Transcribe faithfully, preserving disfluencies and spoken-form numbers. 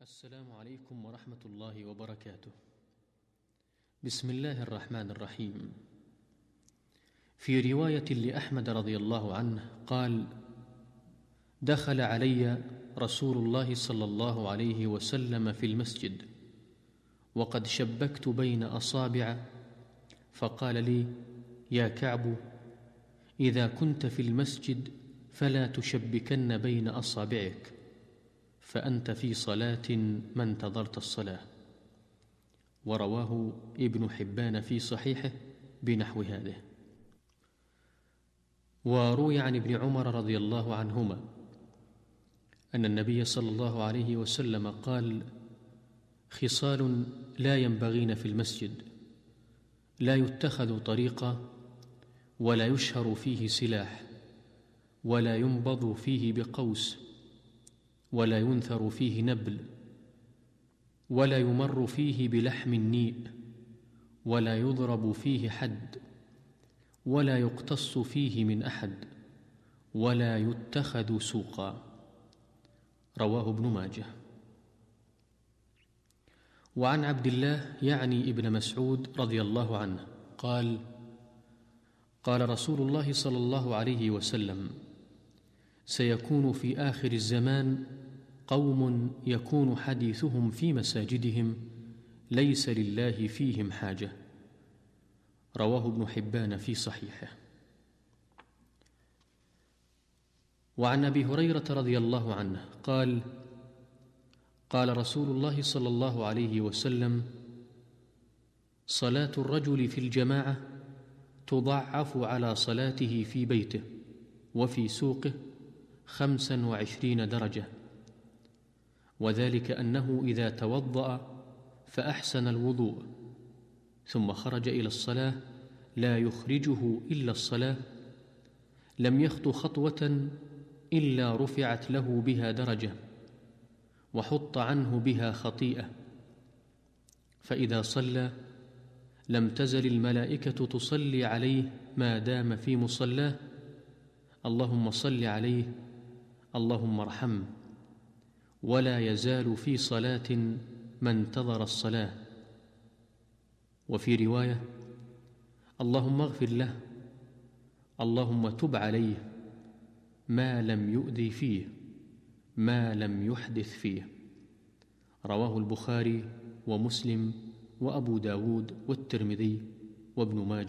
السلام عليكم ورحمة الله وبركاته. بسم الله الرحمن الرحيم. في رواية لأحمد رضي الله عنه قال: دخل علي رسول الله صلى الله عليه وسلم في المسجد وقد شبكت بين أصابع، فقال لي: يا كعب، إذا كنت في المسجد فلا تشبكن بين أصابعك، فأنت في صلاة ما انتظرت الصلاة. ورواه ابن حبان في صحيحه بنحو هذه. وروي عن ابن عمر رضي الله عنهما أن النبي صلى الله عليه وسلم قال: خصال لا ينبغين في المسجد: لا يتخذ طريقا، ولا يشهر فيه سلاح، ولا ينبض فيه بقوس، ولا ينثر فيه نبل، ولا يمر فيه بلحم النيء، ولا يضرب فيه حد، ولا يقتص فيه من أحد، ولا يتخذ سوقا. رواه ابن ماجه. وعن عبد الله يعني ابن مسعود رضي الله عنه قال: قال رسول الله صلى الله عليه وسلم: سيكون في آخر الزمان قوم يكون حديثهم في مساجدهم ليس لله فيهم حاجة. رواه ابن حبان في صحيحه. وعن أبي هريرة رضي الله عنه قال: قال رسول الله صلى الله عليه وسلم: صلاة الرجل في الجماعة تضعف على صلاته في بيته وفي سوقه خمسا وعشرين درجة، وذلك أنه إذا توضأ فأحسن الوضوء ثم خرج إلى الصلاة لا يخرجه إلا الصلاة، لم يخط خطوة إلا رفعت له بها درجة وحط عنه بها خطيئة، فإذا صلى لم تزل الملائكة تصلي عليه ما دام في مصلاه: اللهم صل عليه، اللهم ارحمه. ولا يزال في صلاة ما انتظر الصلاة. وفي رواية: اللهم اغفر له، اللهم تب عليه، ما لم يؤذي فيه، ما لم يحدث فيه. رواه البخاري ومسلم وأبو داود والترمذي وابن ماجه.